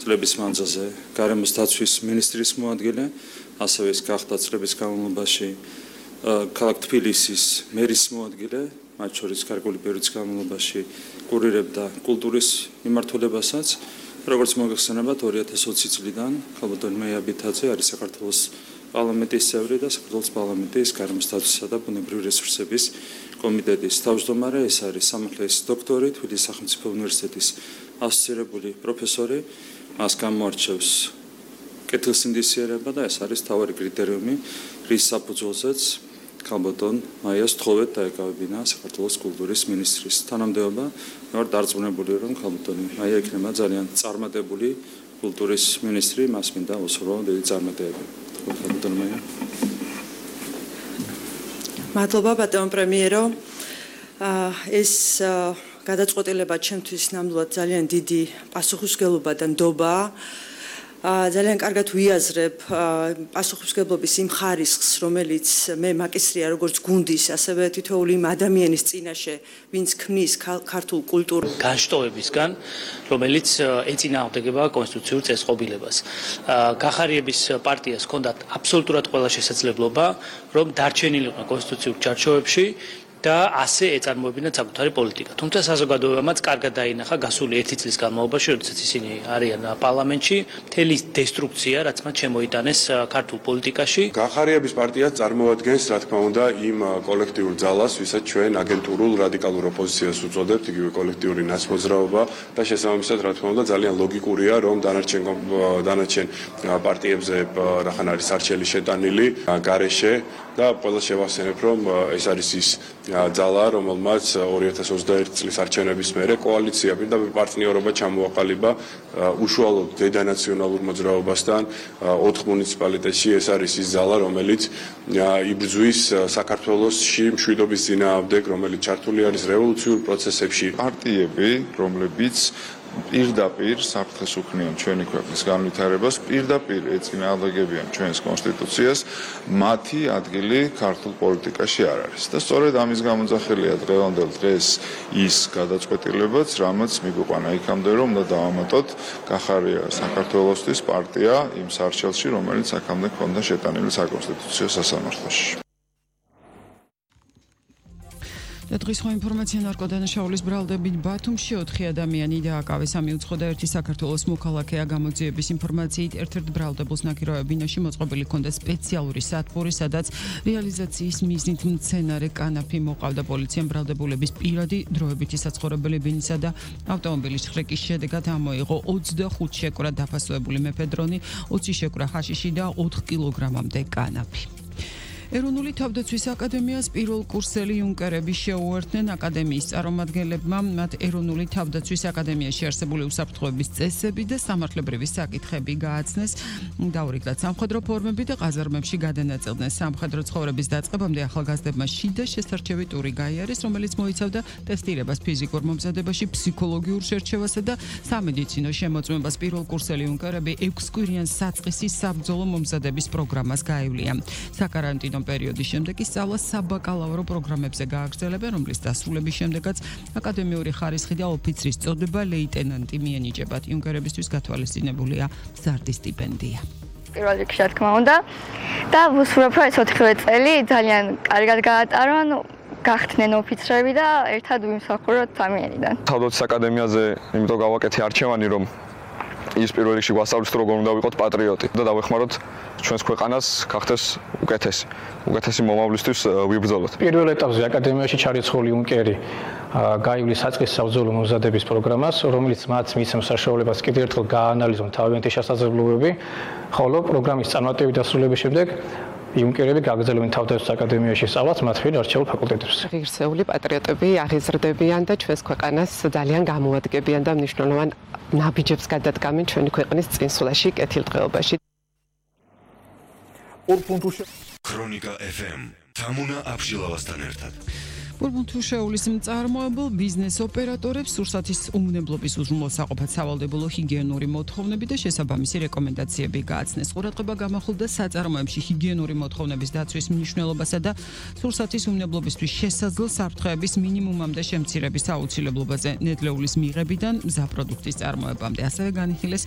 წლების მანძილზე გარემოს დაცვის მინისტრის მოადგილე, ასევე ის გახდა წლების განმავლობაში ქალაქ თბილისის მერის მოადგილე, მათ შორის გარკვეული პერიოდის განმავლობაში კურირებდა კულტურის მიმართულებასაც. როგორც მოგეხსენებათ, 2020 წლიდან ხალბატონ მეია ბითაძე არის საქართველოს პარლამენტის წევრი და საქართველოს პარლამენტის გარემოს დაცვისა და ბუნებრივი რესურსების კომიტეტის თავმჯდომარე. ეს არის სამართლის დოქტორი, თბილისის სახელმწიფო უნივერსიტეტის ასოცირებული პროფესორი. მას გამოარჩევს კეთილსინდისიერება და ეს არის მთავარი კრიტერიუმი, რის საფუძველზეც ხალბატონ მაიას თხოვეთ დაეკავებინა საქართველოს კულტურის მინისტრის თანამდებობა. მე ვარ დარწმუნებული, რომ ხალბატონ მაია იქნება ძალიან წარმატებული კულტურის მინისტრი, მას მინდა უსურვო დიდი წარმატებები. ხალბატონ მაია. მადლობა ბატონ პრემიერო. ეს გადაწყვეტილება ჩემთვის ნამდვილად ძალიან დიდი პასუხისმგებლობა და ნდობაა. ძალიან კარგად ვიაზრებ პასუხისმგებლობის იმ ხარისხს, რომელიც მე მაკისრია როგორც გუნდის, ასევე თითოეული იმ ადამიანის წინაშე, ვინც ქმნის ქართულ კულტურულ განშტოებისგან, რომელიც ეწინააღმდეგება კონსტიტუციურ წესწყობილებას. გახარიების პარტიას ჰქონდათ აბსოლუტურად ყველა შესაძლებლობა, რომ დარჩენილიყო კონსტიტუციურ ჩარჩოებში და ასე ეწარმოებინათ საკუთარი პოლიტიკა. თუმცა საზოგადოებამაც კარგად დაინახა გასული 1 წლის განმავლობაში, როდესაც ისინი არიან პარლამენტში, მთელი დესტრუქცია, რაც მათ შემოიტანეს ქართულ პოლიტიკაში. გახარიების პარტია წარმოადგენს, რა თქმა უნდა, იმ კოლექტიურ ძალას, ვისაც ჩვენ აგენტურულ რადიკალურ ოპოზიციას უწოდებთ, იგივე კოლექტიური ნაცმოძრაობა და შესაბამისად, რა თქმა უნდა, ძალიან ლოგიკურია, რომ დანარჩენ პარტიებზე რახან არის არჩელი შეტანილი გარეშე და ყველა შევახსენებ, რომ ეს არის ის ძალა, რომელმაც 2021 წლის არჩევნების მერე კოალიცია პირდაპირ პარტნიორობა ჩამოაყალიბა უშუალოდ დედანაციონალურ მოძრაობასთან 4 მუნიციპალიტეტში. ეს არის ის ძალა, რომელიც იბრძვის საქართველოსში მშვიდობის წინააღმდეგ, რომელიც ჩართული არის რევოლუციურ პროცესებში. პარტიები, რომლებიც პირდაპირ საფრთხეს უქმნიან ჩვენი ქვეყნის განვითარებას, პირდაპირ ეწინააღმდეგებიან ჩვენს კონსტიტუციას, მათი ადგილი ქართულ პოლიტიკაში არ არის. და სწორედ ამის გამოძახილია დღევანდელ დღეს ის გადაწყვეტილებაც, რამაც მიგვიყვანა იქამდე, რომ უნდა დავამატოთ გახარია საქართველოსთვის პარტია იმ სარჩელში, რომელიც აქამდე ჰქონდა შეტანილი საკონსტიტუციო სასამართლოში. დღის სხვა ინფორმაცია ნარკოდანაშაულის ბრალდებით ბათუმში 4 ადამიანი დააკავეს. 3 უცხო და 1 საქართველოს მოქალაქეა. გამოძიების ინფორმაციით ერთ-ერთ ბრალდებულს ნაკირავა ბინაში მოწყობილი ჰქონდა სპეციალური სათბური, სადაც რეალიზაციის მიზნით მცენარე კანაფი მოყავდა. პოლიციამ ბრალდებულების პირადი დროებითი საცხოვრებელი ბინისა და ავტომობილის შრეკის შედეგად ამოიღო 25 შეკვრა დაფასებული მეფედრონი, 20 შეკვრა ჰაშიში და 4 კილოგრამამდე კანაფი. ეროვნული თავდაცვის აკადემიას პირველ კურსელი იუნკერები შეუერთდნენ. აკადემიის წარმომადგენლებმა მათ ეროვნული თავდაცვის აკადემიაში არსებული უსაფრთხოების წესები და სამართლებრივი საკითხები გააცნეს. დაურიგდათ სამხედრო ფორმები და ყაზარმებში გადანაწილდნენ. სამხედრო ცხოვრების დაწყებამდე ახალგაზრდებმა შიდა შესარჩევი ტური გაიარეს, რომელიც მოიცავდა ტესტირებას ფიზიკურ მომზადებაში, ფსიქოლოგიურ შერჩევასა და სამედიცინო შემოწმებას. პირველ კურსელი იუნკერები 6 კვირიან საწყისის საბრძოლო მომზადების პროგრამას გაევლიან. საკარანტინო პერიოდის შემდეგ ის სწავლა საბაკალავრო პროგრამებზე გააგრძელებენ, რომლის დასრულების შემდეგაც აკადემიური ხარისხი და ოფიცრის წოდება ლეიტენანტი მიენიჭებათ. იუნკერებისთვის გათვალისწინებულია მზარდი სტიპენდია. პირველ რიგში, რა თქმა უნდა, და ვუსურვებ, რომ ეს 4 წელი ძალიან კარგად გაატარონ, გახდნენ ოფიცრები და ერთად ვიმსახუროთ ამიერიდან. თავდაცვის აკადემიაზე იმიტომ გავაკეთე არჩევანი, რომ ის პირველ რიგში გვასწავლებს, როგორ უნდა ვიყოთ პატრიოტი და დავეხმაროთ ჩვენს ქვეყანას გახდეს უკეთესი მომავლისთვის ვიბრძოლოთ. პირველ ეტაპზე აკადემიაში ჩარიცხული იუნკერი გაივლის საწყის საბრძოლო მომზადების პროგრამას, რომელიც მათ მისცემს საშუალებას კიდევ ერთხელ გააანალიზონ თავიანთი შესაძლებლობები, ხოლო პროგრამის წარმატებით დასრულების შემდეგ იუნკერები გაგრძელებენ თავდაცვის აკადემიაში სწავლას მათ მიერ არჩეულ ფაკულტეტებზე. ღირსეული პატრიოტები აღიზრდებიან და ჩვენს ქვეყანას ძალიან გამოადგენენ და მნიშვნელოვან ნაბიჯებს გადადგამენ ჩვენი ქვეყნის წინსვლაში, კეთილდღეობაში. ქრონიკა FM თამუნა აბშილავასთან ერთად. ბურბონთუშეულის მწარმოებელ ბიზნეს ოპერატორებს სურსათის უმნებლობის უზრუნველსაყოფად სავალდებულო ჰიგიენური მოთხოვნები და შესაბამისი რეკომენდაციები გააცნეს. ყურადღება გამახვილდა საწარმოებში ჰიგიენური მოთხოვნების დაცვის მნიშვნელობასა და სურსათის უმნებლობისთვის შესაძლო საფრთხეების მინიმუმამდე შემცირების აუცილებლობაზე, ნედლეულის მიღებიდან მზა პროდუქტის წარმოებამდე. ასევე განიხილეს